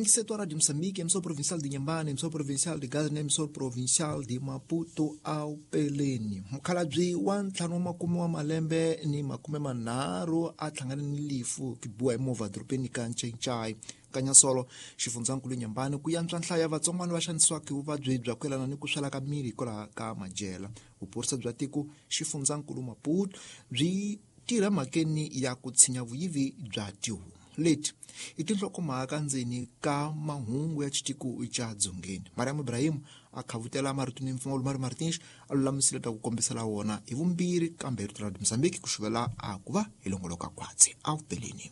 Nyingiseto wa Radio Moçambique, emissora provincial de Inhambane, emissora provincial de Gaza na emissora provincial de Maputo ao Peleni. Mukhalabye wa ntlhanu wa makume wa malembe ni makume manharhu a hlangane ni lifu ku biwa hi movha dorobeni ka Ncencai Kanyasolo xifundzankulu Inhambane ku yantswa nhlayo ya vatsongwana va xanisiwaka hi vuvabyi bya ku yelana ni ku swela ka miri hikwalaho ka madyela. Vuphorisa bya tiko xifundzankulu Maputo byi tirha mhakeni ya ku tshinya vuyivi bya tihomu. Leti i tinhlokomhaka ndzeni ka mahungu ya xitiko xa Dzongeni. Mariam Ibrahim a khavutela marito ni mpfumawulo Mario Martins a lulamisile ta ku kombisela wona hi vumbirhi kambe rito ra Mozambique ku xuvela a ku va hi longoloka khwatsi a vupeleni.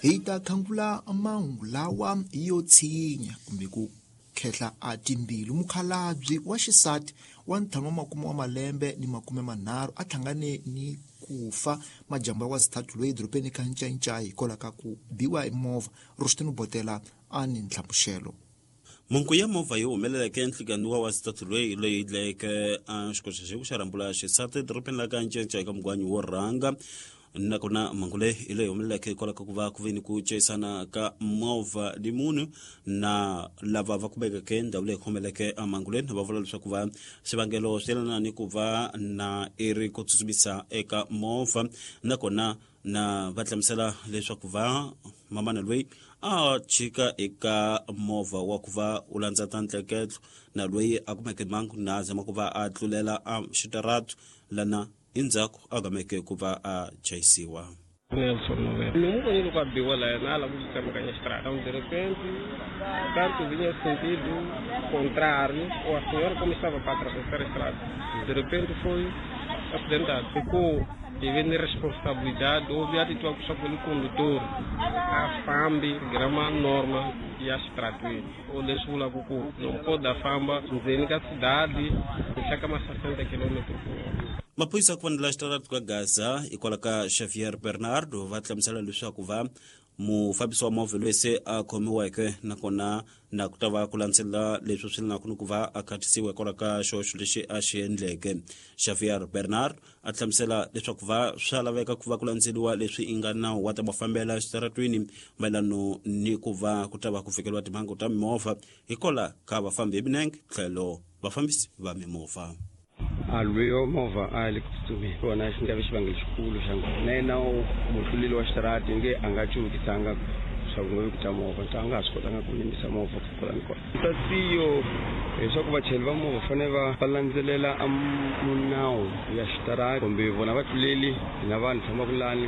Hi ta khangula mahungu lawa yo tshinya kumbe ku khehla a timbilu. Mukhalabye wa xisati wa ntlhanu wa makume wa malembe ni makume manharhu a hlangane ni ku fa majambu ya wazithathu loyi edorobeni ka Ncayincai hikwalaho ka ku biwa hi movha. Rushtini Botela a ni nhlamuxelo. Mhangu ya movha yi humeleleke enhlikani wa wazithathu loyi leyi dlayeke a xikoxaxeku xa rhambula xisati edorobeni la ka Ncayincai eka mugwanyi wo rhanga. Nakona mhangu leyi hi leyi humeleleke hikwalaho ka ku va ku ve ni ku chayisana ka movha ni munhu na lava va kumekeke ndhawu leyi humeleke mhangu leyi va vula leswaku va swivangelo swi yelana ni ku va na i ri ku tsutsumisa eka movha, nakona na va hlamusela leswaku va mamana loyi a chika eka movha wa ku va u landza ta ntleketlo na loyi a kumeke mhangu na zama ku va a tlulela a xitaratu lana endzhaku a gameke ku va a chayisiwa. Nelson Novela. Ni n'wi vonile loko a biwa laya na a lava ku tsemakanya xitarata. De repente, tanto vinha sentido contrário, ou a senhora como estava para atravessar a estrada. De repente foi acidentado. Ficou devendo responsabilidade, houve atitude só pelo condutor. A fambi, grama norma e a estrada. Ou deixa o lago não pode a famba, ndzeni ka cidade, chaka mais 60 km por hora. Maphorisa ku fanela xitaratu ka Gaza hikwalaho ka Xavier Bernardo va hlamusela leswaku va mufambisi wa movha loyi se a khomiweke, nakona na ku ta va ku landzelela leswi swi lenaka ni ku va a khatisiwa hikwalaho ka xihoxo lexi a xi endleke. Xavier Bernard a hlamusela leswaku va swa laveka ku va ku landzeliwa leswi i nga nawu wa ta mafambela xitaratwini mayelano ni ku va ku ta va ku fikeriwa timhangu ta mimovha hikwalaho ka vafambi hi milenge tlhelo vafambisi va mimovha. A lweyo movha a le ku tsutsumeni kona xi nga vi xivangelo xikulu xa nghozi na yena mutluleli wa xitarati nge a nga cuvukisanga swa ku nga vi ku ta movha ta nga ha swi kotanga ku yimisa movha ku kwala ni kwala. Tasiyo leswaku vachayeri va movha fanele va landzelela a munawu ya xitarati kumbe vona vatluleli hina vanhu fambaka lani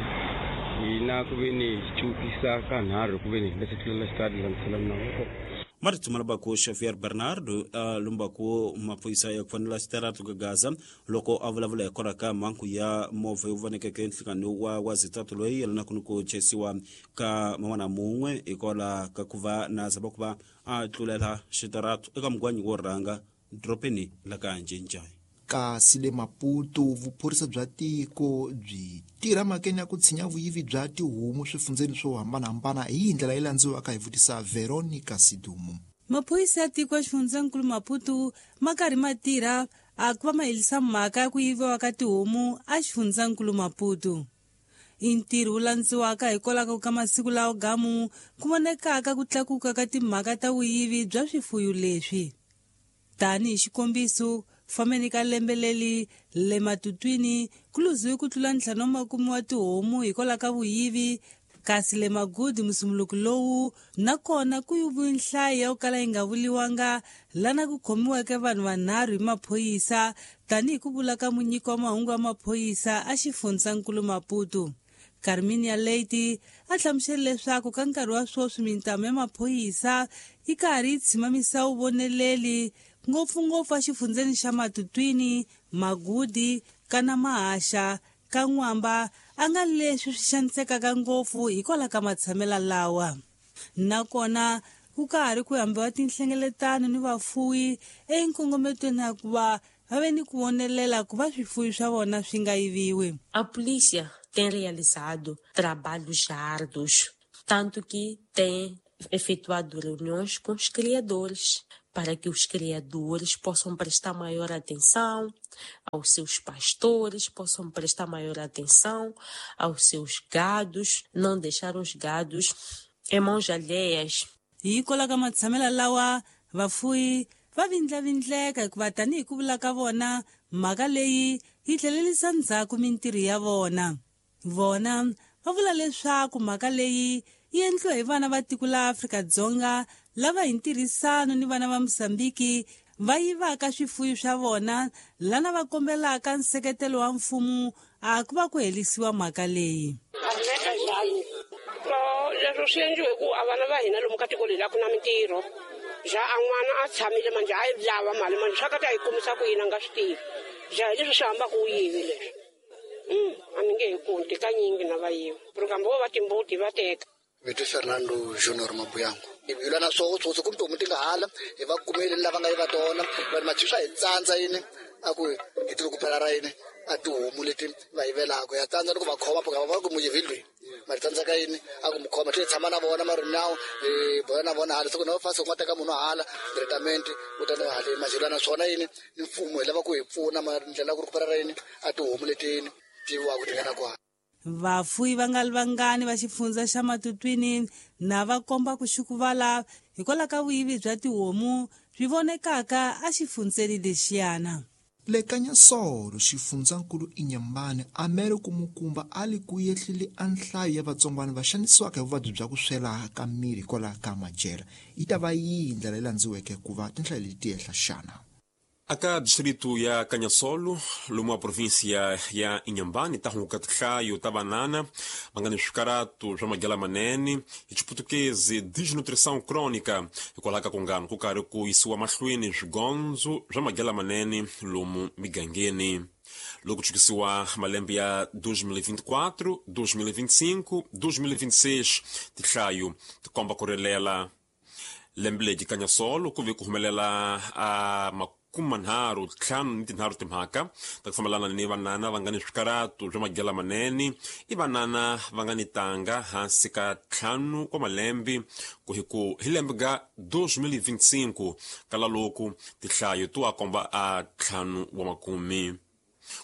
hina ku ve ni cuvukisa ka nharhu ku ve ni hi nga se tlulela xitarati hi landzela minawu ya kona. Marito malabako Xavier Bernardo a lumbako maphorisa ya ku fanela xitaratu ka Gaza loko a vulavula hikwalaho ka mhangu ya movha yo vonekeke nhlikani wa wazitatu loyi yelanaka ni ku chayisiwa ka man'wana mun'we hikwalaho ka ku va na zama ku va a tlulela xitaratu eka mugwanyi wo rhanga dorobeni la ka Ncencai. Kasi le Maputo, vuphorisa bya tiko byi tirha mhakeni ya ku tshinya vuyivi bya tihomu swifundzeni swo hambanahambana hi ndlela yi landziwaka hi vutisa Veronica Sidumo. Maphorisa ya tiko ya xifundzankulu Maputo ma karhi ma tirha a ku va ma helisa mhaka ya ku yiviwa ka tihomu a xifundzankulu Maputo. I ntirho wu landziwaka hikwalaho ka masiku lawa gamu ku vonekaka ku tlakuka ka timhaka ta vuyivi bya swifuyo leswi. Tanihi xikombiso, fambeni ka lembe leri le Matutwini ku luziwe ku tlula 50 wa tihomu hikwalaho ka vuyivi, kasi le Magudi musumuluko lowu na kona ku yiviwe nhlayo ya ku kala yi nga vuliwanga lana ku khomiweke vanhu vanharhu hi maphorisa tanihi ku vula ka munyiki wa mahungu ya maphorisa a xifundzankulu Maputo. Carminia Leite a hlamusele leswaku ka nkarhi wa sweswi mintamu ya maphorisa yi karhi yi tshimamisa vuvoneleli ngopfungopfu exifundzeni xa Matutwini, Magudi, kana Mahaxa, ka N'wamba a nga leswi swi xanisekaka ngopfu hikwalaho ka matshamela lawa. Nakona ku ka ha ri ku hambiwa tinhlengeletano ni vafuwi enkongometweni ya ku va va ve ni ku vonelela ku va swifuwi swa vona swi nga yiviwi. A polícia tem realizado trabalhos árduos, tanto que tem efetuado reuniões com os criadores. para que os criadores possam prestar maior atenção aos seus pastores, possam prestar maior atenção aos seus gados, não deixar os gados em mãos alheias. Hi kwalaho ka matshamelo lawa vafuyi va vindlavindleka hikuva tanihi ku vula ka vona mhaka leyi yi tlhelerisa ndzhaku mintirho ya vona. Vona va vula leswaku mhaka leyi yi endliwa hi vana va tiko la Afrika-Dzonga lava hi ntirhisano ni vana va Mozambiki va yivaka swifuyo swa vona lana va kombelaka nseketelo wa mfumo a ku va ku herisiwa mhaka leyi. Leswo swi endliwe hi ku a vana va hina lomu ka tiko leri a ku na mintirho ja a n'wana a tshamile manje a yi lava mali manje swa ka ta yi kumisa ku yini a nga swi tivi ja hi leswi swi hambaka u yivi leswi a ni nge he kunti kanyingi na va yiva kambe vo va timbuti va teka. Vito Fernando Junior Mabuyango. Hi lwa na swoho swotso kumbe tihomu ti nga hala hi va kumile lava nga yiva tona vanhu mathi swa hi tsandza yini a ku hi ti ku phela ra yini a tihomu leti va yivelaka ya tsandza ni ku va khoma phaka va ku muyivi loyi mari tsandzeka yini a ku mu khoma tlhe tshama na vona mari nawu hi bola na vona hala siku na fasi ku nga teka munhu hala tretament u ta na hale majelo na swona yini ni mfumo hi lava ku hi pfuna mari ndlela ku ri ku phela ra yini a tihomu leti yini tiviwaka ti nga na kwala. Vafuyi va nga ri vangani va xifundza xa Matutwini na va komba ku xukuvala hikwalaho ka vuyivi bya tihomu byi vonekaka exifundzeni lexiyana. Le Kanyasolo xifundzankulu Inhambane a mere kumukumba a li ku yehlile a nhlayo ya vatsongwana va xanisiwaka hi vuvabyi bya ku swela ka miri hikwalaho ka madyela. Yi ta va yihi ndlela leyi landziweke ku va tinhlayo leti ti ehla xana? Aka distrito ya Canhassolo, lomu a província ya Inhambane, ta hunguka tinhlayo ta vanana va nga ni swikaratu swa madyela manene hi xiputukezi desnutrição crônica hikwalaho ka kungano ku karhi ku yisiwa mahlweni swigondzo swa madyela manene lomu migangeni. Loko chukisiwa malembe ya 2024, 2025, 2026 tinhlayo ti komba ku rilela. Lembe leri Canhassolo ku ve ku humelela a 53 timhaka ta ku fambelana ni vanana va nga ni swikaratu swa madyela manene i vanana va nga ni tanga hansi ka 5 wa malembe ku hi ku hi lembe ga 2025 kala loku tinhlayo to a komba a 5 wa makume.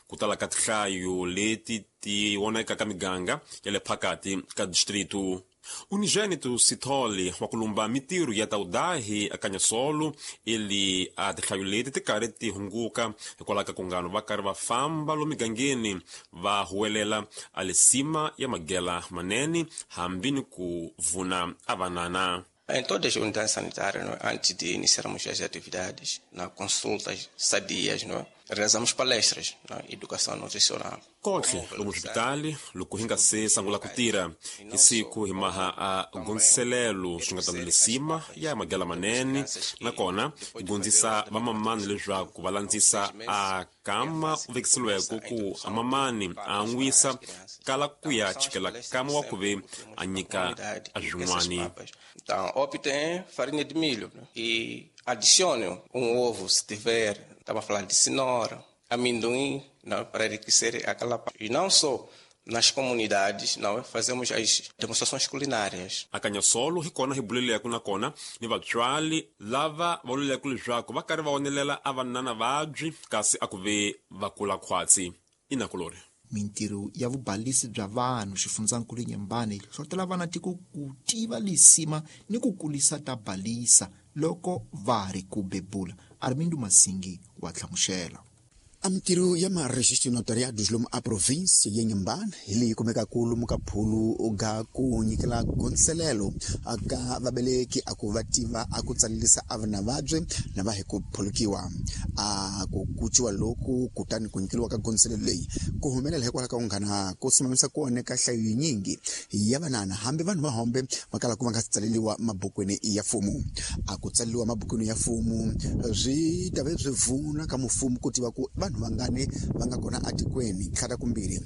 Ku tala ka tinhlayo leti ti voneka ka miganga ya le phakati ka distrito. Unigênito Sithole wa ku lumba mintirho ya taudahi a Canhassolo ili a tinhlayo leti ti karhi ti hunguka hikwalaho ka kungano va karhi va famba lomu migangeni va huwelela a lisima ya madyela manene hambi ni ku vuna a vanana. Em todas as unidades sanitárias, não é? Antes de iniciarmos as atividades, na consultas sadias, não é? Realizamos palestras na educação nutricional. Kohle lomu swipitali loko hi nga se sungula ku tirha hi siku hi maha a gondziselelo swi nga ta lisima ya madyela manene nakona hi gondzisa vamamani leswaku va landzisa a kama u vekiseliweke ku amamani a an'wisa kala ku ya chikela kama wa ku ve a nyika a swin'wani. Então, optem farinha de milho e adicione ovo se tiver. Estava a falar de cenoura, amendoim, não, para enriquecer aquela parte. E não só nas comunidades, não, fazemos as demonstrações culinárias. A Canhassolo hi kona hi buleleke nakona ni vatswari lava va vuleleke leswaku va karhi va onelela a vanana vabyi kasi a ku ve va kula khwatsi. Inakulori. Mintirho ya vubalisi bya vanhu xifundzankulu Inhambane yi hlohlotela vana tiko ku tiva lisima ni ku kulisa ta balisa loko va ri ku bebula. Armindo Masingi wa hlamusela. A mintirho ya maregistro notariados lomu a província ya Inhambane hi leyi kumekaka lomu ka phulu ga ku nyikela gondziselelo ka vaveleki a ku va tiva a ku tsalelisa a vana vabye na va hi ku phulukiwa. A ku kuciwa loku kutani ku nyikeliwa ka gondziselelo leyi ku humelela hikwalaho ka kunghana ku simamisa kona ka nhlayo yinyingi ya vanana hambi vanhu va hombe va kala ku va nga si tsaleliwa mabukwini ya mfumo. A ku tsaleliwa mabukwini ya mfumo swi ta ve swi vuna ka mfumo ku tiva ku vanhu vanhu vangani va nga kona atikweni tlhata kumbirhi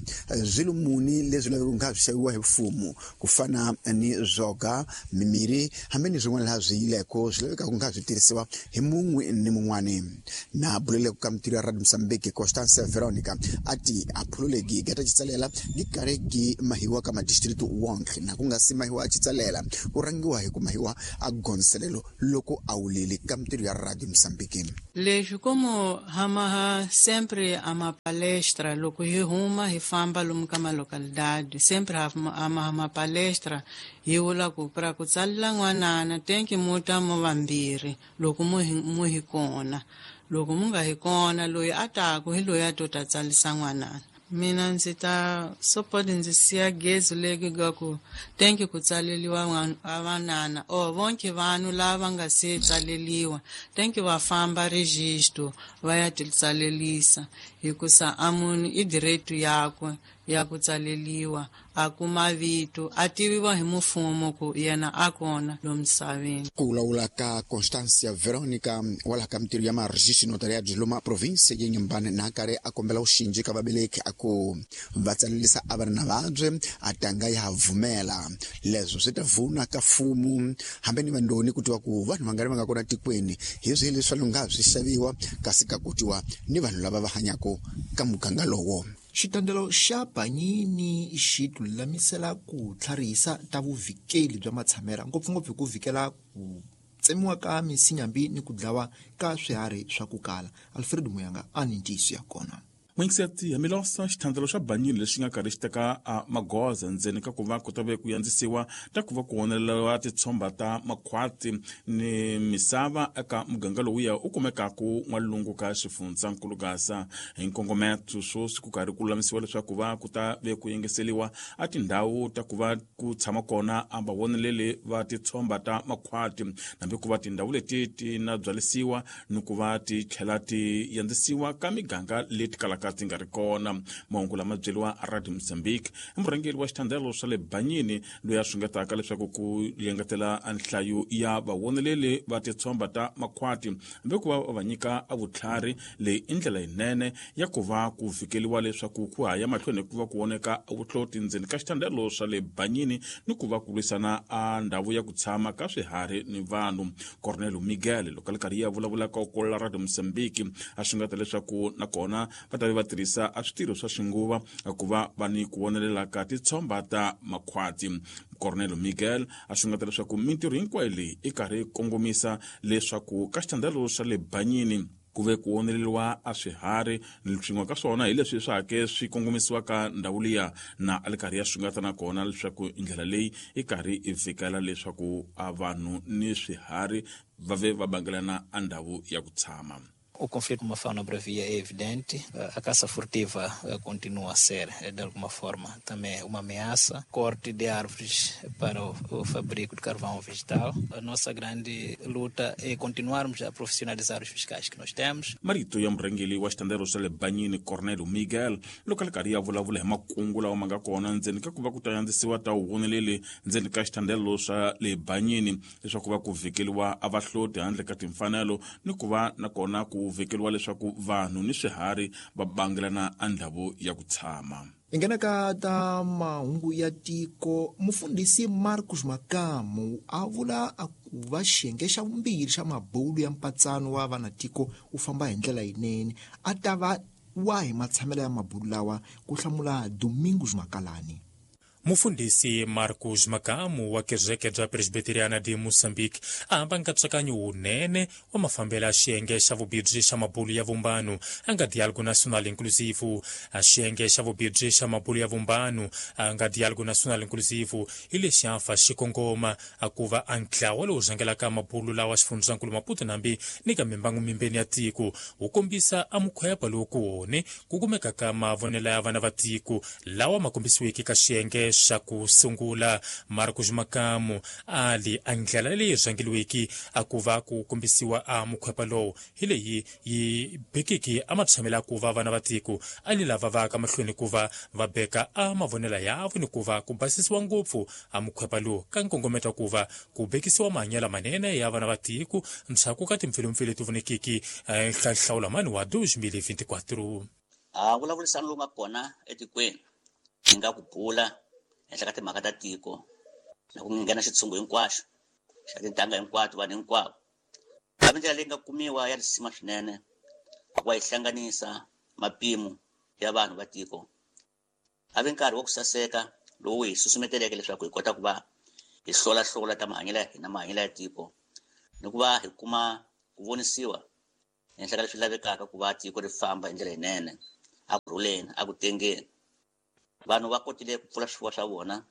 swilo muni leswi lavekaka nga swi xaviwa hi mfumo ku fana ni zwoga mimirhi hambi ni swin'wana laha swi yileko swi lavekaka nga swi tirhisiwa hi mun'we ni mun'wani na buleleko ka mitirho ya Radio Mozambique Constance Veronica ati a phululegi gata xitsalela gi karhi gi mahiwa ka madistrict wonke na ku nga si mahiwa a xitsalela ku rhangiwa hi ku mahiwa a gonselelo loko a wulile ka mitirho ya Radio Mozambique. Leswi como hamaha sempre a ma palestra loko hi huma hi famba lomu ka malocalidade sempre hamaha ma palestra hi vula ku pra ku tsalela n'wanana tenki mu ta mo vambirhi loko mu hi kona loko mu nga hi kona loyi a taku hi loyi a to ta tsalisa n'wanana. Mina ndzi ta support ndzi siya gezi legi ga ku tenki ku tsaleliwa vanana o vonke vanhu lava nga se tsaleliwa tenki va famba registro va ya ti tsalelisa hikusa a munhu i direito yakwe ya ku tsaleliwa a kuma vito a tiviwa hi mfumo ku yena a kona lo misaveni. Ku vulavula ka Constancia Veronica wala ka mitirho ya maregistro notariado loma province ya Inhambane na karhi a kombela vuxinji ka vabeleki a ku va tsalelisa a va ri na vabye a tanga ya vumela leswo swi ta vuna ka mfumo hambi ni vandoni ku tiva ku vanhu vangani va nga kona tikweni hi swi leswi nga swi xaviwa kasi ka kutiwa ni vanhu lava va hanyaka ka muganga lowo. Xitandelo xa Banyini xi tilulamisela ku tlharihisa ta vuvikeli bya matshamela ngopfungopfu hi ku vikela ku tsemiwa ka misinyambi ni ku dlawa ka swiharhi swa ku kala. Alfred Muyanga a ni ntiyiso ya kona. N'wingiseti Hamilosa xithandelo xa Banyini lexi nga karhi xi teka magoza ndzeni ka ku va ku ta ve ku yandzisiwa ta ku va ku oneleriwa titshomba ta makhwati ni misava eka muganga lowuya u kumekaku n'walungu ka xifundzankulu Gaza hi nkongometo swoswi ku karhi ku lulamisiwa leswaku va ku ta ve ku yengeseliwa a tindhawu ta ku va ku tshama kona a vavoneleli va titshomba ta makhwati nambi ku va tindhawu leti ti na byalisiwa ni ku va ti tlhela ti yandzisiwa ka miganga leti kalaka ti nga ri kona. Mahungu lama byeriwa Radio Mozambique i murhangeri wa xithandelo swa le Banyini loyi a swingetaka leswaku ku yengetela nhlayo ya vavoneleli va titshomba ta makhwati hambi ku va va nyika a vutlhari leyi i ndlela yinene ya ku va ku fikeliwa leswaku ku haya mahlweni ku va ku voneka vuhloti ndzeni ka xithandelo swa le Banyini ni ku va ku lwisana a ndhawu ya ku tshama ka swiharhi ni vanhu. Cornelio Miguel loko a ri karhi ya vulavula ka kola Radio Mozambique a swingeta leswaku nakona va ta va tirhisa a switirho swa xinguva ku va va ni ku vonelela ka titshomba ta makhwati. Cornelio Miguel a xungeta leswaku mintirho hinkwayo leyi i karhi kongomisa leswaku ka xithandelo xa le Banyini ku ve ku oneleriwa a swiharhi swin'we ka swona hi leswi swa hake swi kongomisiwaka ndhawu liya na a li karhi ya xungeta nakona leswaku ndlela leyi i karhi i fikela leswaku a vanhu ni swiharhi va ve va bangelana a ndhawu ya ku tshama. O conflito com a fauna bravia é evidente, a caça furtiva continua a ser, de alguma forma, também uma ameaça. Corte de árvores para o fabrico de carvão vegetal. A nossa grande luta é continuarmos a profissionalizar os fiscais que nós temos. Marito ya murhangeri wa xitandelo xa le Banyini Cornelio Miguel loko a ri karhi ya vulavula hi makungu lawa ma nga kona ndzeni ka ku va ku ta yandzisiwa ta vuvoneleli ndzeni ka xitandelo xa le Banyini leswaku va ku vhikeliwa a vahloti handle ka timfanelo ni ku va nakona ku vekeliwa leswaku vanhu ni swiharhi va bangelana a ndhawu ya ku tshama. Hi nghena ka ta mahungu ya tiko. Mufundhisi Marcos Makamu a vula a ku va xiyenge xa vumbirhi xa mabulu ya mpatsano wa vanatiko wu famba hi ndlela yinene a ta va wahi matshamelo ya mabulu lawa ku hlamula Domingos Makalani. Mufundhisi Marcos Makamu wa kereke bya Presbiteriana de Moçambique a hamba nkatsakanyo wunene wa mafambelo ya xiyenge xa vubirhi xa mabulu ya vumbano a nga Diálogo Nacional Inclusivo. A xiyenge xa vubirhi xa mabulu ya vumbano a nga Diálogo Nacional Inclusivo hi lexi a fa xikongoma a ku va a ntlawa lowu rhangelaka mabulu lawa xifundzankulu Maputo nambi ni ka mimbangu mimbeni ya tiko wu kombisa a mukhwepa lowu ku wone ku kumeka ka mavonelo ya vana va tiko lawa ma kombisiweke ka xiyenge xa ku sungula. Marcos Makamu ali a ndlela leyi rhangeliweki a ku va ku kombisiwa a mukhwepa lowu hi leyi yi bekiki a matshamela ku va vana va tiko a ni lava va ka mahlweni ku va va beka a mavonelo yavo ni ku va ku basisiwa ngopfu a mukhwepa lowu ka nkongometo ku va ku bekisiwa mahanyelo manene ya vana va tiko ndzhaku ka timpfilumpfilu leti vonekiki nhlawulamani wa 2024. A vulavurisano lowu nga kona etikweni hi nga ku bula henhla ka timhaka ta tiko na ku nghena xitshungu hinkwaxo xa tintangha hinkwato vanhu hinkwavo. Kambe ndlela leyi nga kumiwa ya risima swinene ku va yi hlanganisa mapimo ya vanhu va tiko. A vi nkarhi wa ku saseka lowu hi susumeteleke leswaku hi kota ku va hi hlolahlola ta mahanyelo ya hina, mahanyelo ya tiko, ni ku va hi kuma ku vonisiwa henhla ka leswi lavekaka ku va tiko ri famba hi ndlela yinene, a ku rhuleni, a ku tengeni. Vanhu va kotile ku pfula swifuwo swa vona,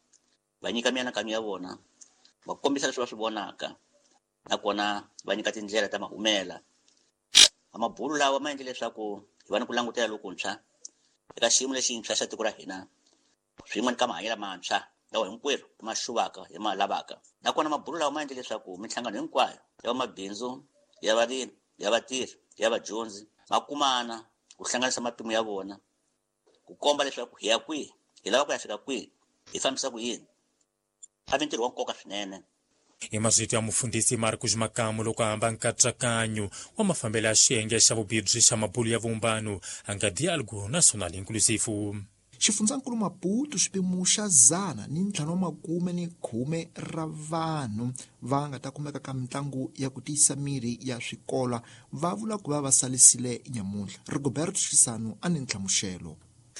va nyika mianakanyo ya vona, va kombisa leswi va swi vonaka, nakona va nyika tindlela ta mahumela. Mabulu lawa ma endle leswaku hi va ni ku langutela lokuntshwa eka xiyimo lexintshwa xa tiko ra hina, swin'we ni ka mahanyelo mantshwa lawa hinkwerhu hi ma xuvaka, hi ma lavaka. Nakona mabulu lawa ma endle leswaku minhlangano hinkwayo ya vamabindzu, ya varimi, ya vatirhi, ya vadyondzi ma kumana ku hlanganisa mapimo ya vona, ku komba leswaku hi ya kwihi, hi lava ku ya fika kwihi, hi fambisa ku yini. A vi ntirho wa nkoka swinene. Hi mazito ya mufundhisi Marcos Makamu loko a hamba nkatsakanyo wa mafambelo ya xiyenge xa vubibyi xa mabulu ya vumbano a nga Diálogo Nacional Inclusivo. Xifundzankulu Maputo xipimo xa 150 ra vanhu va nga ta kumeka ka mitlangu ya ku tiyisa miri ya swikola va vula ku va va salisile nyamuntlha. Rigoberto Xisano a ni nhlamuxelo.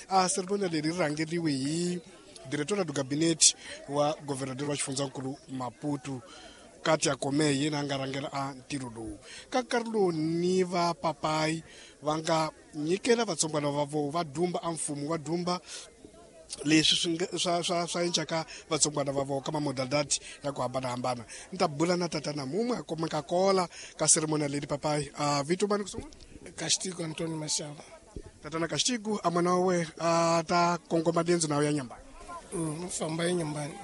A ceremonia leri rhangeriwe hi diretora do gabinete wa governador wa xifundzankulu Maputo Katia Kome, yena a nga rhangela a ntirho lowu. Ka nkarhi lowu ni va papayi va nga nyikela vatsongwana va vo va dumba a mfumo va dumba leswi swa encaka vatsongwana va vo ka mamodalidadi ya ku hambanahambana. Ni ta bula na tatana mumwe a kumeka kola ka ceremonia leli. Papayi, a vito mani ku sungula? Castigo Antonio Mashava. Tatana Castigo, a n'wana wa we a ta kongoma liendzo na ya Nyambani? Famba ya Nyambani,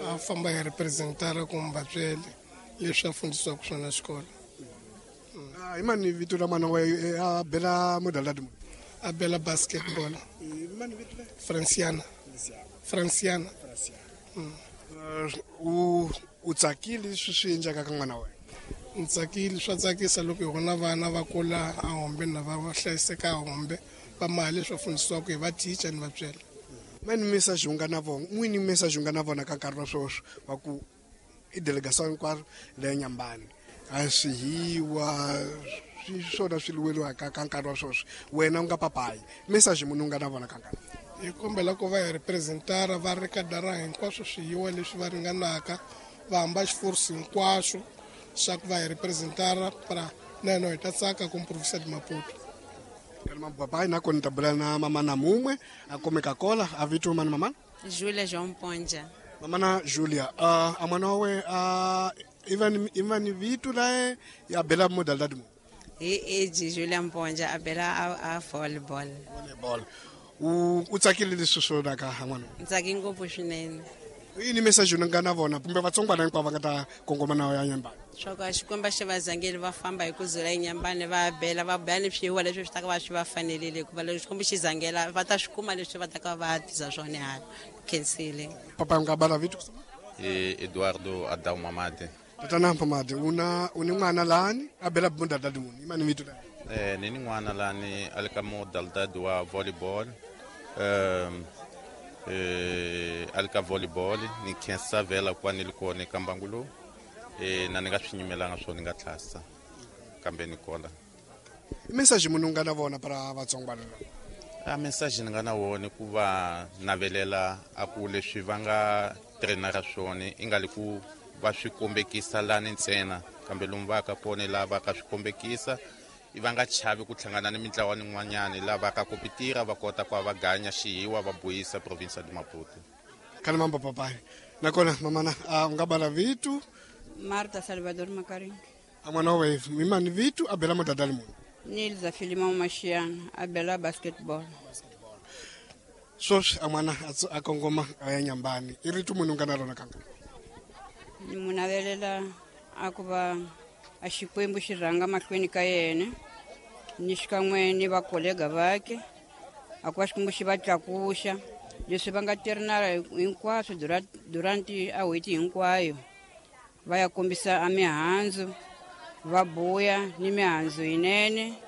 a famba hi representara kumbe vatswele leswi a fundisiwaka swona xikolo. Hi mani vito la n'wana wa a bela modalidadi muni? A bela basketball. Franciana. Franciana. U tsakile leswi swi endlaka ka n'wana wa wena? Ni tsakile, swa tsakisa loko hi vona vana va kula a hombe na va hlayiseka a hombe va maha leswi va fundisiwaka hi va teacher ni vatswele. Mani message u nga na vona, n'wini message u nga na vona ka nkarhi wa sweswi wa ku i delegation hinkwaro leya Nyambani a swihiwa swona swi lweriwaka ka nkarhi wa sweswi, wena u nga papayi message munhu u nga na vona ka nkarhi? Hi kombela ku va hi representara va ri ka dara hinkwaswo swihiwa leswi va ringanaka, va hamba xiforce hinkwaxo xa ku va hi representara para na hina hi ta tsaka ku province de Maputo. Papayi nakona ta bula na mamana mumwe a kumeka kola. A vito mani mamana? Julia João Ponja. Mamana Julia, a mwana wa we a ivan vito lae ya bela modalidadi mu? Hi age Julia Mponja a bela a volleyball. Volleyball. U tsakile leswi swona ka n'wana? Ntsaki ngopfu swinene. Yini message u nga na vona kumbe vatsongwana hinkwavo va nga ta kongoma na ya Nyambani? Swa ku a Xikwembu xi va zangeli va famba hi ku zula eNyambani, va bela va bela ni swihiwa leswi swi ta ka va swi va fanerile, hikuva loko Xikwembu xi zangela va ta swi kuma leswi va ta ka va tisa swona hala. Khensile. Papa, u nga bala vito? Eduardo Adao Mamade. Tatana Mamade, una u ni n'wana lani a bela modalidadi muni, i mani vito lani? Ni ni n'wana lani a le ka modalidadi wa volleyball. A le ka volleyball. Ni khensa vhela ku va ni li kona eka mbangu lowu, na ni nga swi nyimelanga swo ni nga tlhasa kambe ni kola. I message munhu u nga na vona para vatsongwana? A message ni nga na wona ku va navelela a ku leswi va nga trainara swona i nga li ku va swi kombekisa lani ntsena, kambe lomu va ka kona laha va ka swi kombekisa i va nga chavi ku hlangana ni mintlawa nin'wanyani laha va ka kompitira, va kota ku va ganya xihiwa va buyisa province de Maputo. Kana mambo papai. Nakona mamana, u nga bala vito? Marta Salvador Makaringi. A n'wana wa we mimani vito, a bela modalidadi muni? Nilza Filimão Machiana, a bela basketball. Sweswi a n'wana a kongoma a ya Nyambani i rito munhu nga na rona kanga. Ni mu navelela a ku va a Xikwembu xi rhanga mahlweni ka yena ni xikan'we ni vakolega vake, a ku va Xikwembu xi va tlakuxa leswi va nga tirhinala hinkwaswo durante a n'hweti hinkwayo, va ya kombisa a mihandzu, va buya ni mihandzu yinene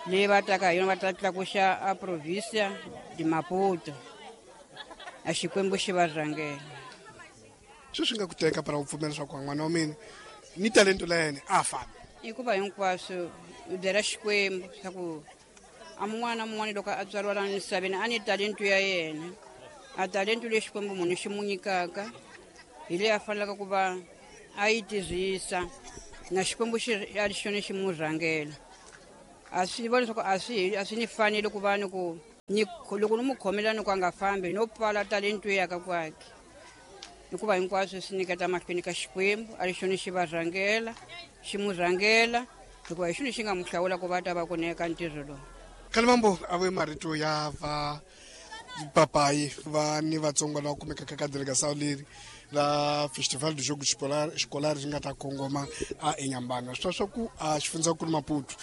leyi va taka hi yona, va ta tlakuxa a provinsia de Maputo. A Xikwembu xi va rhangela. Sweswi nga ku teka para u pfumela leswaku n'wana wa mina ni talento la yena a fambi? Hikuva hinkwaswo u byela Xikwembu swa ku a mun'wana na mun'wana loko a tswariwa laha misaveni a ni talento ya yena, a talento leyi Xikwembu munhu xi mu nyikaka hi leyi a fanelaka ku va a yi tirhisa, na Xikwembu xi a xona xi mu rhangela. A swi vona leswaku a swi ni fanele ku va ni ku ni loko ni mu khomela ni ku a nga fambi no pfala talento ya ka kwakhe, hikuva hinkwaswo swi nyiketa mahlweni ka Xikwembu, a ri xona xi va rhangela, xi mu rhangela, hikuva hi xona xi nga mu hlawula ku va ta va ku neka ntirho lowu. Kalimambo a ve marito ya va papayi va ni vatsongo lava kumekaka ka delegação leri la Festival do Jogo Escolar ri nga ta kongoma a eNyambana. Swi swa ku a xifundzankulu Maputo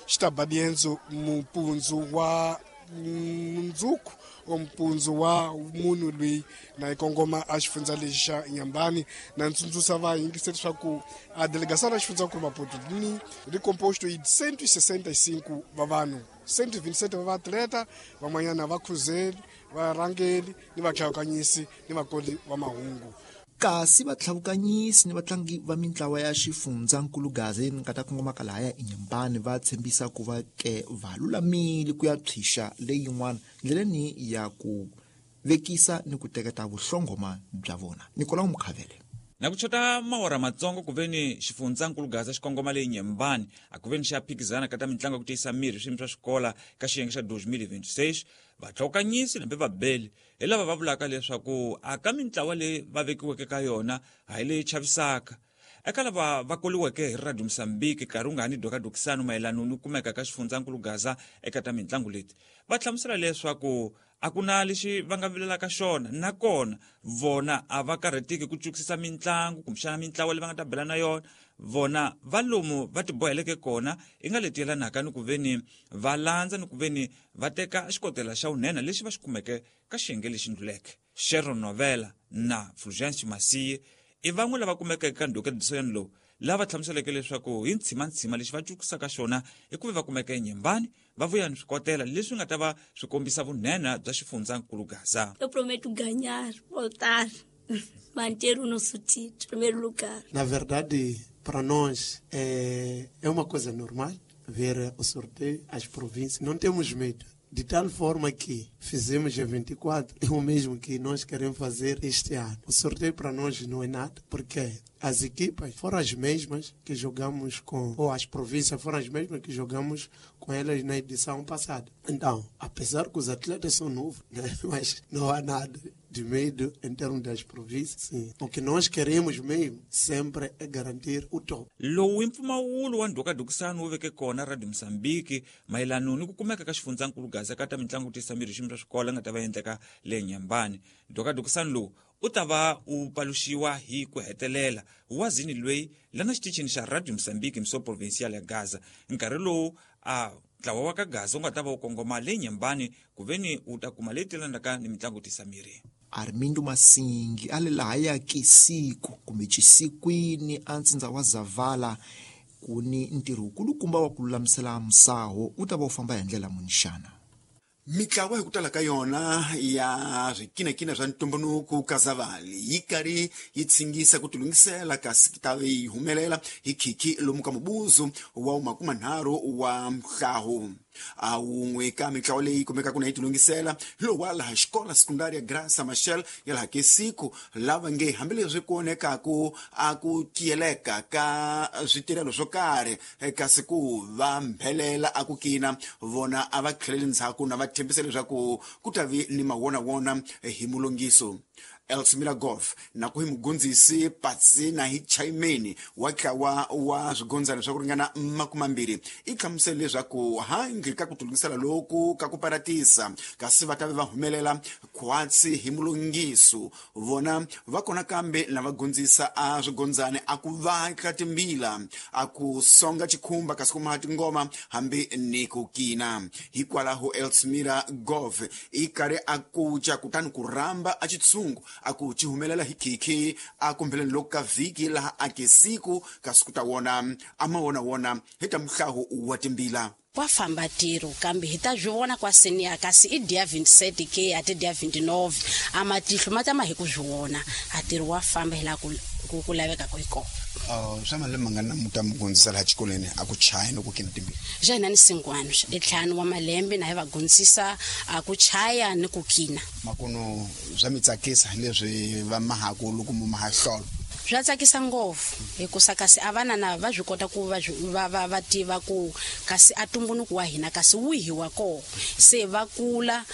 xi ta ba dienzo mupundzu wa mundzuku o mpundzu wa munhu loyi na yi kongoma a xifundza lexi xa Nyambani. Na ntsundzuxa va yingiseri leswaku a delegação ra xifundzankulu Maputo ni ri composto hi 165 va vanhu, 127 va vaatleta, van'wanyana va khuzeli, varhangeli ni vatlhavukanyisi ni vakoli va mahungu. Kasi vatlhavukanyisi ni vatlangi va mintlawa ya xifundzankulu Gaza leyi nga ta kongomaka lahaya eNyambani va tshembisa ku va ke va lulamile ku ya tshwixa leyin'wana ndleleni ya ku vekisa ni ku teketa vuhlongoma bya vona. Nicolau Mukhavele. Na ku chota mawara matsongo ku veni xifundzankulu Gaza xi kongoma leyi Nyembani a ku veni xa phikizana ka ta mitlangu ya ku tiyisa miri swiyimo swa xikola ka xiyenge xa 2026, vatlhokanyisi nambe vabeli hi lava va vulaka leswaku a ka mintlawa leyi va vekiweke ka yona a hi leyi chavisaka. Eka lava va koliweke hi Radio Mozambique nkarhi wu nga ha ni dokadokisano mayelano ni kumeka ka xifundzankulu Gaza eka ta mitlangu leti, va hlamusela leswaku a ku na lexi va nga vilelaka xona, nakona vona a va karhateki ku cukisisa mitlangu kumbexana mintlawa leyi va nga ta bela na yona. Vona va lomu va tiboheleke kona i nga leti yelanaka ni ku veni va landza ni ku veni va teka xikotela xa vunhenha lexi va xi kumeke ka xiyenge lexi ndluleke. Sharon Novela na Fulgence Masiye i van'we lava kumekeke ka ndhokedisoyani lowu, lava hlamuseleke leswaku hi ntshima-ntshima lexi va cukisaka xona i ku ve va kumeka eNyembani va vuya ni swikotela leswi nga ta va swi kombisa vunhenha bya xifundzankulu Gaza. Eu prometo ganhar, voltar, manter o nosso título, primeiro lugar. Na verdade, para nós é uma coisa normal ver o sorteio, as províncias. Não temos medo. De tal forma que fizemos em 24, é o mesmo que nós queremos fazer este ano. O sorteio para nós não é nada, porque as equipas foram as mesmas que jogamos com, ou as províncias foram as mesmas que jogamos com elas na edição passada. Então, apesar que os atletas são novos, né, mas não há nada de medo em termos das províncias. Sim. O que nós queremos mesmo sempre é garantir o top. Lowu i mpfumawulo wa ndhukadukisano wu veke kona Radio Mozambique mayelano ni ku kumeka ka xifundzankulu Gaza ka ta mitlangu tiyisa miri xiyimo swa xikolo nga ta va endleka le Nyambani. Ndhukadukisano lowu u ta va u paluxiwa hi ku hetelela wazini loyi lana xitichini xa Radio Mozambique mso provincial ya Gaza nkarhi lowu a ntlawa wa ka Gaza wu nga ta va wu kongoma le Nyembani ku veni wu ta kuma leyi telanaka ni mitlangu tisa miri. Armindo Masingi a le lahaya Kisiku kumbe Chisikwini a ntsindza wa Zavala ku ni ntirho wukulukumba wa ku lulamisela musaho wu ta va wu famba hi ndlela muni xana? Mitlawa hi ku tala ka yona ya swikinakina swa ntumbuluko ka Zavali yi karhi yi tshingisa ku tilunghisela kasi ta yi humelela hi khikhi lomu ka mubuzu wa 30 wa mhlahu. A wun'we ka mitlawa leyi kumekaka na yi tilunghisela hi lowu wa laha xikola sekundaria Graça Machel ya laha Kesiku, lava nge hambileswi ku onekaku a ku tiyeleka ka switirhelo swo karhi kasi ku va mbhelela a ku kina vona a va tlheleli ndzhaku na va tshembisa leswaku ku ta vi ni mawonawona hi mulungiso. Elsmira Golf na ku hi mugondzisi patsi na hi chaimeni wa ntlawa wa swigondzana swa ku ringana 20 i hlamusele leswaku handle ka ku tilungisela loku ka ku paratisa kasi va ta ve va humelela khwatsi hi mulungiso vona va kona kambe na va gondzisa a swigondzani a ku vatla timbila a ku songa chikhumba kasi kuma tingoma hambi ni ku kina. Hikwalaho Elsmira Golf i karhi a kuca kutani ku rhamba a xitshungu a ku ci humelela hi khikhi a kumbheleni loku ka vhiki laha a ke siku kasi ku ta wona a ma wona hi ta muhlawu wa timbila. Wa famba tiro kambe hi ta byi vona kwa senior kasi i dia 27 ke a ti dia 29 a matihlo ma tama hi ku byi vona a tiro wa famba hi laha ku lavekaka hi kona. Swa malembe mangani na muta mu gondzisa laha xikolweni a ku chaya ni ku kina timbila? Xa hina ni 5 i 5 wa malembe na hi va gondzisa a ku chaya ni ku kina. Makuno swa mi tsakisa leswi va mahaku loko mu maha hlolo? Swa tsakisa ngopfu hikusa kasi a vana na va swi kota ku va tiva ku kasi a tumbuluko wa hina kasi wihi wa koho se va kula.